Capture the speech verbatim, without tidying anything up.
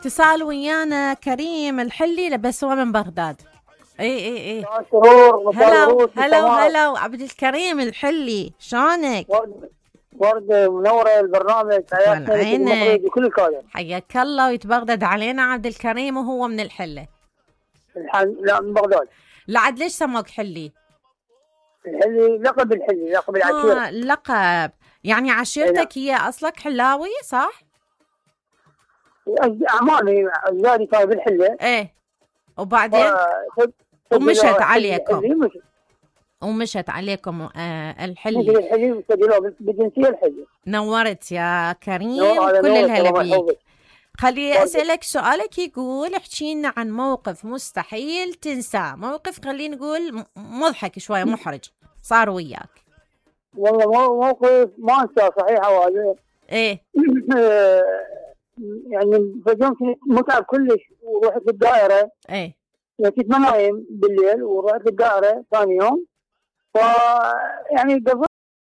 اتصال ويانا كريم الحلي بس هو من بغداد. اي اي اي هلا هلا هلا عبد الكريم الحلي، شلونك؟ وردة منورة البرنامج، حياك وكل الكادر. حياك الله ويتبغدد علينا عبد الكريم، وهو من الحلة. الحل... لا من بغداد. لعد ليش سموك حلي؟ الحلي لقب الحلي، لقب العشيرة. آه لقب، يعني عشيرتك هي أصلك حلاوي صح؟ أعمامي أجدادي كانوا بالحلة. إيه وبعدين ف... ومشت عليكم مشت. ومشت عليكم آه الحلي. مشت الحلي وسجلوه بالجنسية الحلي. نورت يا كريم، كل الهلا بيك. خلي أسألك سؤالك يقول احكي لنا عن موقف مستحيل تنساه، موقف خلينا نقول مضحك شوية محرج صار وياك. والله موقف ما انساه صحيح هذا. ايه يعني فجأة كنت متعب كلش ورحت الدائرة. ايه كنت ما نايم بالليل ورحت الدائرة ثاني يوم، ف يعني